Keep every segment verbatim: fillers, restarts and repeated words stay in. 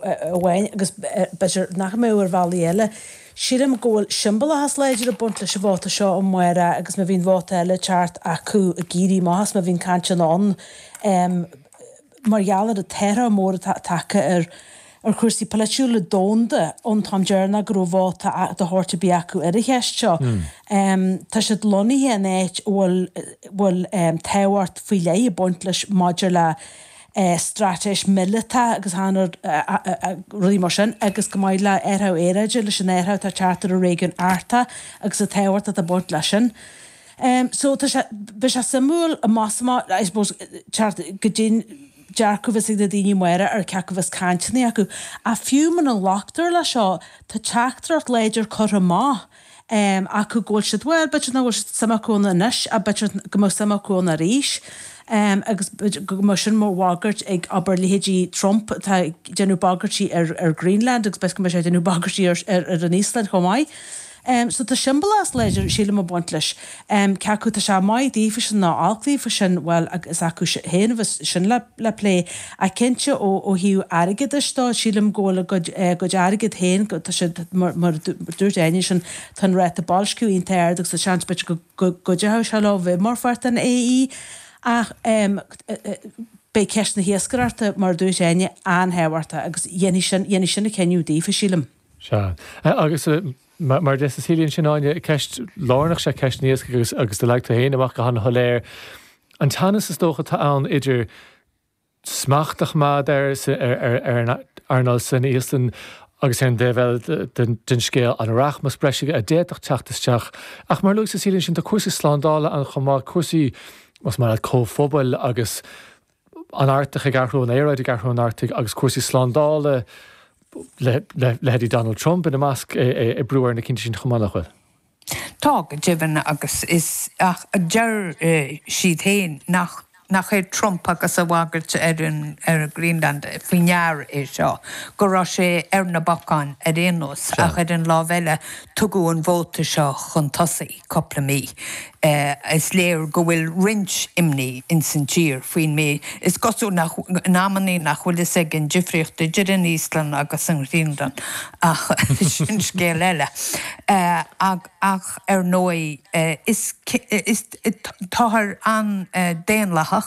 amháin agus b'fhéidir nach mbeadh ar bhealaí eile. Sílim go bhfuil siombalachas láidir ag baint leis an vóta seo amárach agus má bhíonn vóta eile teacht acu ag éirí amach is má bhíonn cainteanna ann mar gheall ar an t-athrú mór atá tagtha ar ar chúrsaí polaitiúla domhanda ón t-am deireanach go raibh vóta de shórt ar bith acu ar an cheist seo. Tá siad lonnaithe in áit a bhfuil bhfuil tábhacht faoi leith ag baint leis maidir le straitéis míleata agus rudaí mar sin agus go maith le athrú aeráide leis an athrú atá ag teacht ar an réigiún Artach agus an tábhacht atá ag baint leis sin. So tá sé, beidh sé suimiúil amach is amach, I suppose, teacht go dtí dearcadh a bheas ag na daoine amárach ar cé acu a bheas cainteanna acu. Ach fiú muna nglactar leis seo, tá teachtaireacht láidir curtha amach acu go bhfuil siad, bhuel, b'fhéidir nach bhfuil suim acu ann anois ach b'fhéidir go mbeadh suim acu ann arís agus go mbeadh sin mar bhagairt ag, abair, leithéidí Trump atá ag déanamh bagairtí ar ar Greenland agus b'fhéidir go mbeidh sé ag déanamh bagairtí ar ar an Íoslainn chomh maith. So tá siombalachas láidir, sílim, ag baint leis. Cé acu tá sé maith daofa nó olc daofa sin, bhuel, is acu féin a bheas sin le le plé. Ach cinnte ó ó thaobh airgeadais dó, sílim go bhfuil a gcuid a gcuid airgid féin, tá siad, mar mar a dúirt Áine ansin, tá an ráta boilsciú iontach ard agus tá seans b'fhéidir go go gcuideoidh sé leo bheith mar pháirt den AE. Ach beidh ceist na hiascaireachta, mar a dúirt Áine, an-thábhachtach agus dhéanfaidh sin dhéanfaidh sin an cinneadh daofa, sílim. Sea. Agus mar a deir Cecilia ansin, Áine, ceist lárnach is ea ceist an iascaigh agus agus do leag tú féin amach go han-shoiléir an teannas is dócha atá ann idir smacht a choimeád ar ar an earnáil san Íoslainn agus ar an dtaobh eile den scéal an rachmas breise a d'fhéadfadh teacht isteach. Ach mar a luaigh Cecilia ansin, tá cúrsaí slándála ann chomh maith, cúrsaí más maith leat comhphobail agus an Artach ag athrú, an aeráid ag athrú an Artaigh agus cúrsaí slándála, leithéidí Donald Trump ina measc, ag brú ar na cinntí sin chomh maith, nach bhfuil? Tá, go deimhin, agus is, ach deir siad féin nach nach é Trump agus a bhagairt ar an ar Greenland faoi ndear é seo, go raibh sé ar na bacáin ar aon nós, ach ar an lámh eile tugadh an vóta seo chun tosaigh cúpla mí. Is léir go bhfuil roinnt imní ins an tír faoin méid. Is cosúil nach, in amannaí, nach bhfuil fhios aige an difríocht idir an Íoslainn agus an Ghraonlainn, ach sin scéal eile. Ach ar ndóigh, is, is, táthar an-daonlathach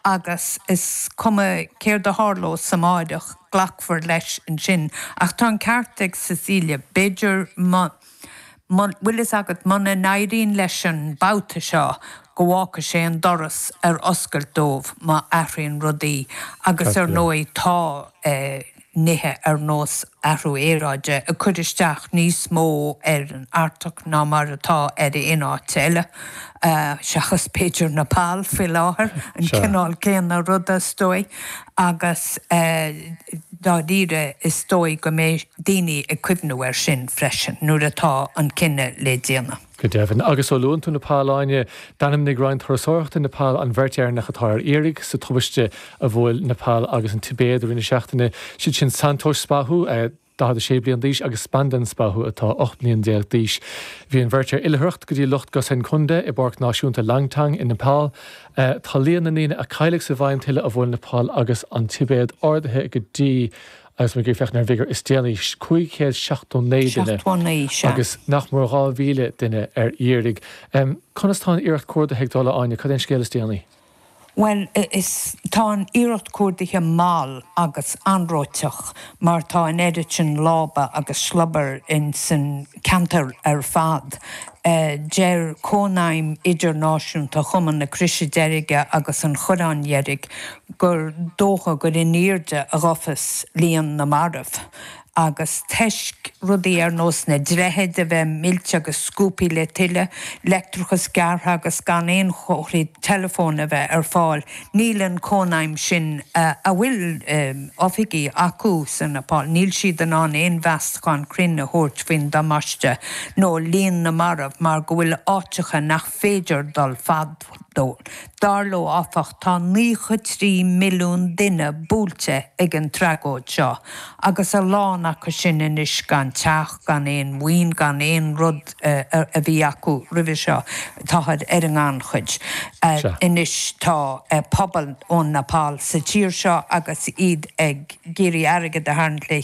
agus is cuma céard a tharlós amáireach, glacfar leis ansin. Ach tá an ceart ag Cecilia, b'fhéidir má, bhfuil fhios agat, muna n-éiríonn leis an babhta seo, go bhfágfaidh sé an doras ar oscailt dóibh má athraíonn rudaí agus ar ndóigh tá nithe ar nós athrú aeráide ag cur isteach níos mó ar an Artach ná mar atá ar aon áit eile, seachas b'fhéidir Nepal faoi láthair, an cineál céanna ruda is dóigh agus dáiríre is dóigh go mbeidh daoine ag cuimhniú air sin freisin nuair atá an cinneadh le déanamh. Go deimhin. Agus ó luann tú Nepal, Áine, d'ainmnigh Roinn Turasóireachta Nepal an bheirt Éireannach atá ar iarraidh sa tubaiste a bhuail Nepal agus an Tibéad i rith na seachtaine. Siad sin Santosh Spahu, daichead a sé bliain d'aois, agus Spandan Spahu, atá ocht mbliana déag d'aois. Bhí an bheirt ar oilithreacht go dtí Loch Gosainkunda i bPáirc Náisiúnta Langtang i Nepal. Tá líon na ndaoine a cailleadh sa mhaidhm tuile a bhuail Nepal agus an Tibéad ardaithe go dtí, agus muid ag féachaint ar an bhfigiúr is déanaí, cúig chéad seachtó naoi duine agus nach mór dhá mhíle duine ar iarraidh. Conas tá an iarracht cuardaithe ag dul, a Áine? Cad é an scéal is déanaí? Bhuel, is, tá an iarracht cuardaithe mall agus anróiteach mar tá an oiread sin lába agus sliobair ins an ceantar ar fad. Deir Cónaidhm Idirnáisiúnta Chumann na Croise Deirge agus an Chorráin Dheirg gur dócha gur in airde a ghabhfas líon na marbh. agus toisc rudaí ar nós na droichid a bheith millte agus scuabtha le tuile, leictreachas gearrtha agus gan aon chomharthaí teileafóin a bheith ar fáil, níl an Chónaidhm sin, a bhfuil oifigí acu sa Nepal, níl siad in ann aon mheastachán cruinn a thabhairt faoin damáiste nó líon na marbh. marbh mar go bhfuil áiteacha nach féidir dul fad dó. Dar leo áfach tá naocha trí milliún duine buailte ag an tragóid seo agus a lán acu sin anois gan teach, gan aon mhaoin, gan aon rud a bhí acu roimhe seo, táthar ar an ngannchuid. Anois tá pobal ón Nepal sa tír seo agus iad ag iarraidh airgead a tharraingt le